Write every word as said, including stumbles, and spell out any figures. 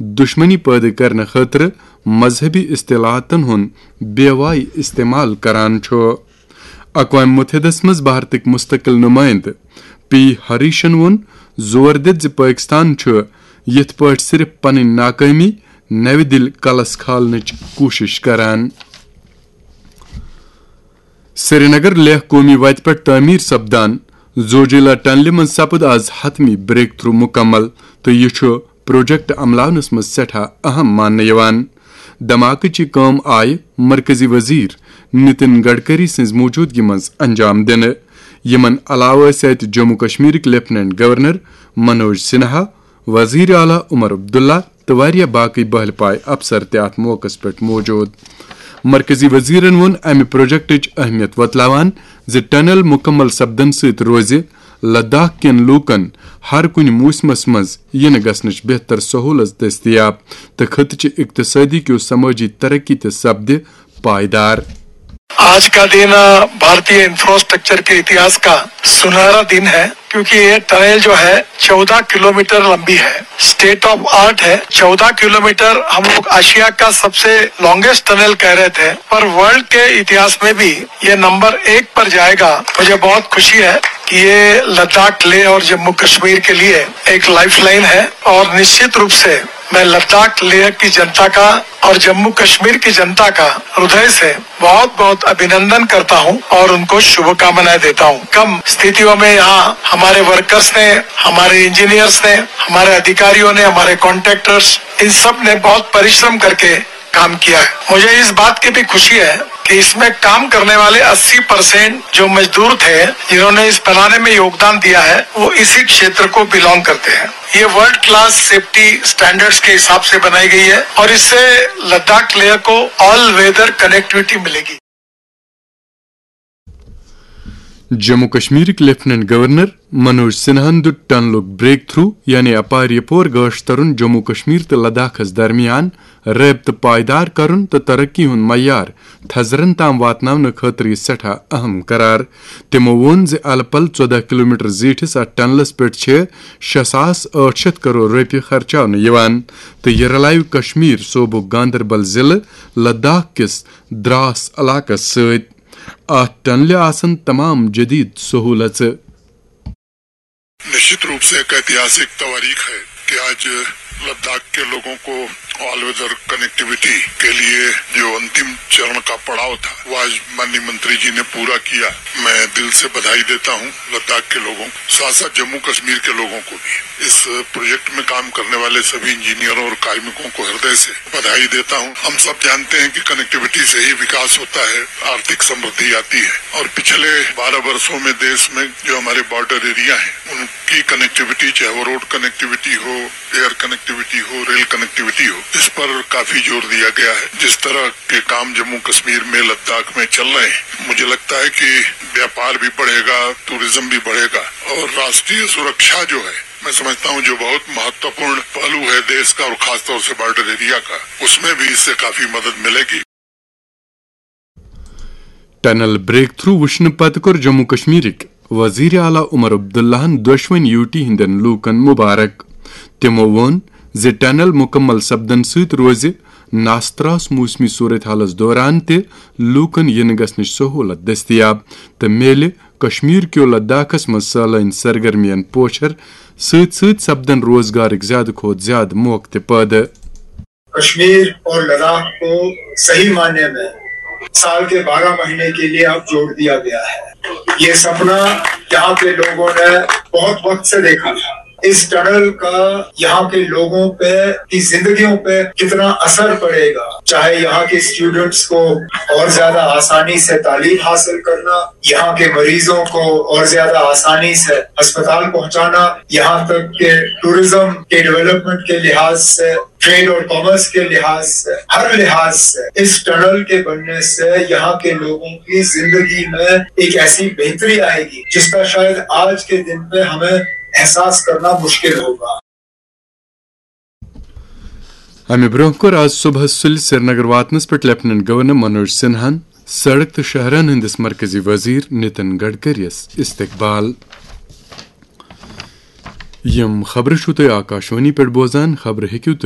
دشمنی پٲدٕ کرنہٕ خٲطرٕ مذہبی اصطلاحاتن ہُنٛد بے واے استعمال کران چھُ۔ اقوام متحدس منٛز بھارتٕکۍ مستقل نمائندٕ پی ہریشن ووٚن، زور دِتھ زِ پٲکستان چھُ یِتھ پٲٹھۍ صرف پنٕنۍ ناکٲمی نوِ دِلہِ کلس کھالنٕچ کوٗشش کران۔ سرینگر لیہہ قومی وتہِ پٮ۪ٹھ تعمیٖر سپدان زوجیلا ٹنلہِ منٛز سپُد آز حتمی بریک تھرو مکمل تہٕ یہِ چھُ پروجیکٹ عملاونس منٛز سٮ۪ٹھاہ اہم ماننہٕ یِوان۔ دھماکٕچ یہِ کٲم آیہِ مرکزی وزیر نتن گڈکری سٕنٛز موجودگی منٛز انجام دِنہٕ۔ یِمن علاوٕ ٲسۍ اتہِ جموں کشمیرٕکۍ لیفٹیننٹ گورنر منوج سنہا، وزیر اعلیٰ عمر عبداللہ تہٕ واریاہ باقٕے بہل پایہِ افسر تہِ اتھ موقعس پٮ۪ٹھ موجود۔ مرکزی وزیرن ووٚن امہِ پروجیکٹٕچ اہمیت وۄتلاوان زِ ٹنل مکمل سپدن سۭتۍ روزِ لداخ کٮ۪ن لوٗکن ہر کُنہِ موسمس منٛز یِنہٕ گژھنٕچ بہتر سہولت دٔستیاب تہٕ خطہٕ چہِ اقتصٲدی کیو سمٲجی ترقی تہِ سپدِ پائیدار۔ आज का दिन भारतीय इंफ्रास्ट्रक्चर के इतिहास का सुनहरा दिन है, क्योंकि ये टनल जो है चौदह किलोमीटर लंबी है, स्टेट ऑफ आर्ट है। चौदह किलोमीटर हम लोग एशिया का सबसे लॉन्गेस्ट टनल कह रहे थे, पर वर्ल्ड के इतिहास में भी ये नंबर एक पर जाएगा। मुझे बहुत खुशी है कि ये लद्दाख, लेह और जम्मू कश्मीर के लिए एक लाइफलाइन है, और निश्चित रूप से मैं लद्दाख, लेह की जनता का और जम्मू कश्मीर की जनता का हृदय से बहुत बहुत अभिनंदन करता हूं और उनको शुभकामनाएं देता हूं। कम स्थितियों में यहाँ हमारे वर्कर्स ने, हमारे इंजीनियर्स ने, हमारे अधिकारियों ने, हमारे कॉन्ट्रैक्टर्स, इन सब ने बहुत परिश्रम करके काम किया है। मुझे इस बात की भी खुशी है कि इसमें काम करने वाले अस्सी परसेंट जो मजदूर थे, जिन्होंने इस बनाने में योगदान दिया है, वो इसी क्षेत्र को बिलोंग करते हैं। ये वर्ल्ड क्लास सेफ्टी स्टैंडर्ड्स के हिसाब से बनाई गई है और इससे लद्दाख लेह को ऑल वेदर कनेक्टिविटी मिलेगी। جموں کشمیرٕکۍ لیفٹیننٹ گورنر منوج سنہاہن دیُت ٹنلُک بریک تھرو، یعنی اپارِ پور گاش ترُن جموں کشمیر تہٕ لداخس درمیان رٲبطہٕ پائیدار کرُن تہٕ ترقی ہُنٛد معیار تھزرن تام واتناونہٕ خٲطرٕ یہِ سٮ۪ٹھاہ اہم قرار۔ تِمو ووٚن زِ الہٕ پلہٕ ژۄدہ کلومیٹر زیٖٹھِس اتھ ٹنلس پٮ۪ٹھ چھِ شےٚ ساس ٲٹھ شیٚتھ کرور رۄپیہِ خرچاونہٕ یِوان تہٕ یہِ رلاوِ کشمیر صوبُک گاندربل ضلعہٕ لداخ کِس دراس علاقس سۭتۍ۔ اتھ ٹنلہِ آسن تمام جدید سہولژٕ۔ निश्चित रूप से एक ऐतिहासिक तवारीख है कि आज लद्दाख के लोगों को ऑल वेदर कनेक्टिविटी के लिए जो अंतिम चरण का पड़ाव था, वो आज माननीय मंत्री जी ने पूरा किया। मैं दिल से बधाई देता हूँ लद्दाख के लोगों को, साथ साथ जम्मू कश्मीर के लोगों को भी। इस प्रोजेक्ट में काम करने वाले सभी इंजीनियरों और कार्मिकों को हृदय से बधाई देता हूँ। हम सब जानते हैं कि कनेक्टिविटी से ही विकास होता है, आर्थिक समृद्धि आती है। और पिछले बारह वर्षों में देश में जो हमारे बॉर्डर एरिया हैं, उनकी कनेक्टिविटी, चाहे वो रोड कनेक्टिविटी हो, एयर कनेक्टिविटी हो, रेल कनेक्टिविटी हो, इस पर काफी जोर दिया गया है। जिस तरह के काम जम्मू कश्मीर में, लद्दाख में चल रहे हैं, मुझे लगता है कि व्यापार भी बढ़ेगा, टूरिज्म भी बढ़ेगा और राष्ट्रीय सुरक्षा जो है, मैं समझता हूँ जो बहुत महत्वपूर्ण पहलू है देश का और खासतौर से बॉर्डर एरिया का, उसमें भी इससे काफी मदद मिलेगी। ٹنل بریک تھرو وٕچھنہٕ پتہٕ کوٚر جموں کشمیرٕکۍ وزیر اعلیٰ عمر عبداللہن دۄشوٕنۍ یوٗٹی ہٕنٛدٮ۪ن لوٗکن مبارک۔ تِمو ووٚن زِ ٹنل مکمل سپدن سۭتۍ روزِ ناستراس موسمی صورتحالس دوران تہِ لوٗکن یِنہٕ گژھنٕچ سہولت دٔستیاب تہٕ میلہِ کشمیر کیو لداخس منٛز سٲلٲنۍ سرگرمین پوچھر سۭتۍ سۭتۍ سپدن روزگارٕکۍ زیادٕ کھۄتہٕ زیادٕ موقعہٕ تہِ پٲدٕ۔ کشمیر اور لداخ کو صحیح معنی میں سال کے بارہ مہینے کے لیے اب جوڑ دیا گیا ہے۔ یہ سپنا یہاں کے لوگوں نے بہت وقت سے دیکھا تھا۔ اس ٹنل کا یہاں کے لوگوں پہ، کی زندگیوں پہ کتنا اثر پڑے گا، چاہے یہاں کے اسٹوڈنٹس کو اور زیادہ آسانی سے تعلیم حاصل کرنا، یہاں کے مریضوں کو اور زیادہ آسانی سے ہسپتال پہنچانا، یہاں تک کہ ٹورزم کے ڈیولپمنٹ کے لحاظ سے، ٹریڈ اور کامرس کے لحاظ سے، ہر لحاظ سے اس ٹنل کے بننے سے یہاں کے لوگوں کی زندگی میں ایک ایسی بہتری آئے گی جس کا شاید آج کے دن پہ ہمیں احساس کرنا مشکل ہوگا۔ امہِ برونٛہہ کوٚر آز صبحس سُلہِ سرینگر واتنس پٮ۪ٹھ لیفٹیننٹ گورنر منوج سنہاہن سڑک تہٕ شاہراہن ہٕنٛدِس مرکزی وزیر نتن گڈکریَس استقبال۔ یِم خبرٕ چھِو تُہۍ آکاشوانی پٮ۪ٹھ بوزان۔ خبرٕ ہیٚکِو تُہۍ